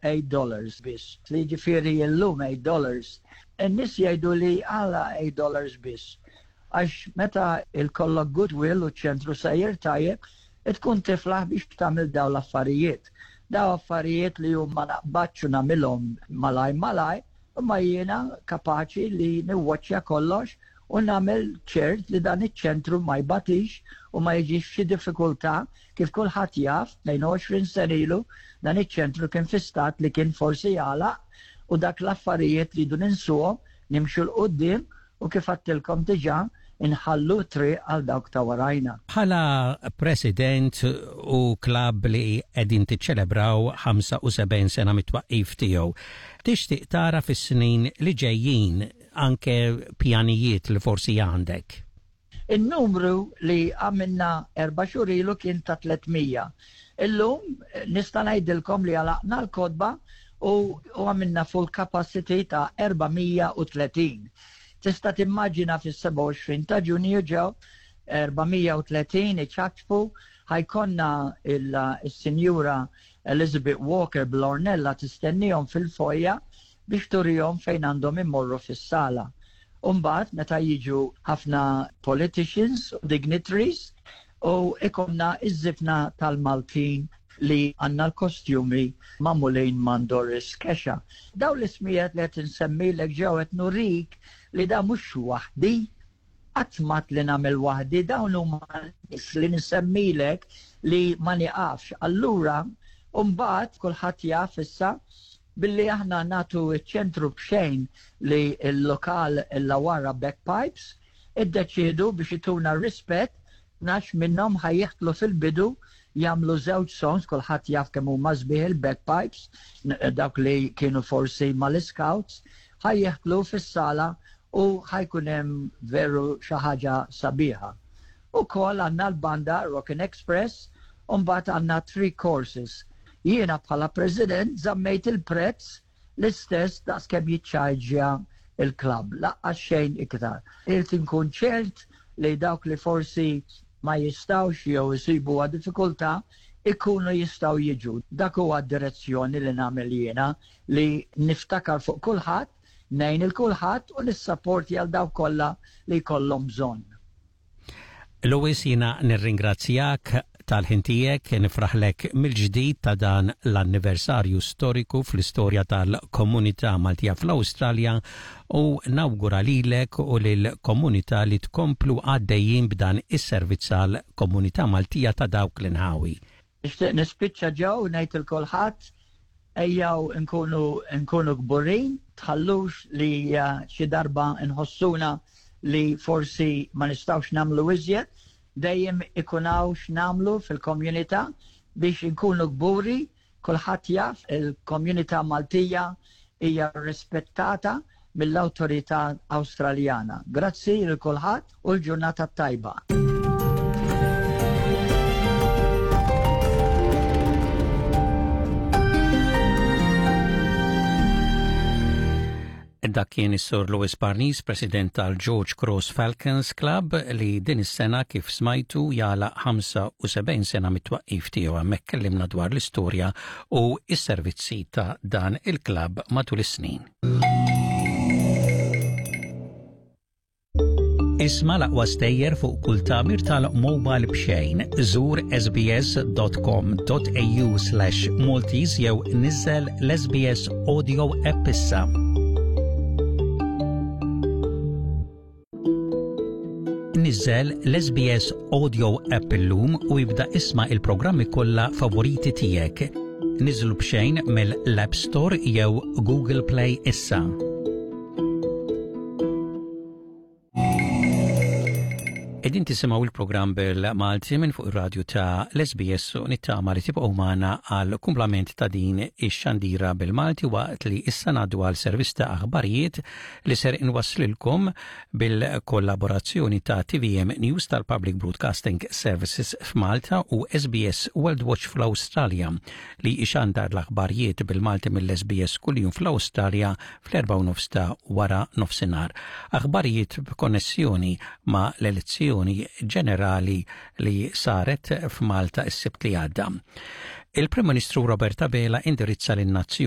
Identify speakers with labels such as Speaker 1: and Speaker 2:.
Speaker 1: 8 dollars biss. Li ġifieri llum 8 dollars. In-nies jgħidu li għala 8 dollars biss. Għax meta jkollok goodwill u ċentru sejjer tajjeb, tkun tiflaħ biex tagħmel daw l-affarijiet. Daw affarijiet li huma naqbadx u nagħmilhom malaj malaj, imma jiena kapaċi li niwwaċċja kollox u nagħmel ċert li dan iċ-ċentru ma jbatix u ma jiġix f'xi diffikultà kif kulħadd jaf 22 sena ilu dan iċ-ċentru kien fi stat li kien forsi jagħlaq u dak l-affarijiet li jdu ninsuhom nimxu 'l quddiem u kif għedtilkom diġà inħallu triq għal dawk ta' warajna.
Speaker 2: Bħala president u klabb li qegħdin tiċċelebraw 75 sena mit-twaqqif tiegħu, tixtieq tara fis-snin li ġejjin anke pjanijiet li forsi għandek?
Speaker 1: Il-numru li għamilna 4 xhur ilu kien ta' 300. Illum nista' ngħidilkom li għalaqna l-kotba u għamilna full capacity ta' 430. Tista' timmaġina fis-27 ta' Ġunju ġew 430 iċapċpu ħa jkollna il-Sinjura Elizabeth Walker bl-Ornella tistennihom fil-foyer biex turihom fejn għandhom immorru fis-sala. Umbagħad meta jiġu ħafna politicians u dignitaries u ikollna iż-żifna tal-Maltin li għandna l-kostjumi magħmulin minn Doris Kesha. Daw l-ismijiet li qed insemmilek ġew qed nurik li da mhux waħdi, qatt li nagħmel waħdi, dawn huma li nsemmilek li ma niqafx. Allura, mbagħad kulħadd jaf issa billi aħna nagħtu ċ-ċentru b'xejn li l-lokal l-Illawarra Bagpipes, iddeċiedu biex jtuna rispett 12 minnhom ħa jitilgħu fil-bidu jagħmlu żewġ songs, kulħadd jaf kemm huma sbieħ il-bagpipes, dawk li kienu forsi mal-scouts, ħa jitilgħu fis-sala u ħa jkun hemm veru xi ħaġa sabiħa. Ukoll għandna l-banda Rockin' Express, u mbagħad għandna three courses. Jiena bħala president żammejt il-prezz l-istess daqs kemm jiċċarġja il-klabb, lanqas xejn iktar. Irrid inkun ċert li dawk li forsi ma jistawx jew isibu diffikultà ikunu jistaw jiġu. Dak huwa d-direzzjoni li nagħmel jiena li niftakar fuq kulħadd, ngħin lil kulħadd u nissapporti għal dawk kollha li jkollhom bżonn.
Speaker 2: Louis, jiena nirringrazzjak tal-ħin tiegħek, nifraħlek mill-ġdid ta' dan l-anniversarju storiku fl-istorja tal-komunità Maltija fl-Awstralja u nawgura lilek u lill-komunità li tkomplu għaddejjin b'dan is-servizz għall-komunità Maltija ta' dawk l-inħawi.
Speaker 1: Nixtieq nispiċċa ġew ngħid lil kulħadd ejjaw nkunu nkunu kburin, tħallux li xi darba nħossuna li forsi ma nistawx nagħmlu iżjed, dejjem ikun hawn x'nagħmlu fil-komunità biex inkunu kburi, kulħadd jaf il-komunità Maltija hija rispettata mill-awtorità Awstraljana. Grazzi lil kulħadd u l-ġurnata tajba.
Speaker 2: Dak kien is-Sur Louis Parnis, President tal-George Cross Falcons Club, li din is-sena kif smajtu jagħlaq 75 sena mit-twaqqif tiegħu hemmhekk kellimna dwar l-istorja u s-servizzi ta' dan il-klabb matul is-snin. Isma' l-aqwa stejjer fuq kull tagħmir tal-mobile b'xejn. Żur sbs.com.au/maltese jew niżel l-SBS Audio app issa. Niżel l-SBS Audio app illum u ibda isma' il-programmi kollha favoriti tiegħek. Niżlu b'xejn mill-App Store jew Google Play issa. Qegħdin tisimgħu il-programm bil-Malti minn fuq ir-radju ta' l-SBS u nittama li tibqgħu magħna għal kumplament ta' din ix-xandira bil-Malti waqt li issa ngħaddu għal servizz ta' aħbarijiet li ser inwasslilkom bil-kollaborazzjoni ta' TVM News tal-Public Broadcasting Services f'Malta u SBS World Watch fl-Awstralja li ixandar l-aħbarijiet bil-Malti mill-SBS kuljum fl-Awstralja fl-4 ta' wara nofsinhar. Aħbarijiet b'konnessjoni ma' l-elezzjoni ġenerali li saret f'Malta s-Sibt li għadda. Il-Prim Ministru Robert Abela indirizza lin-nazzjon.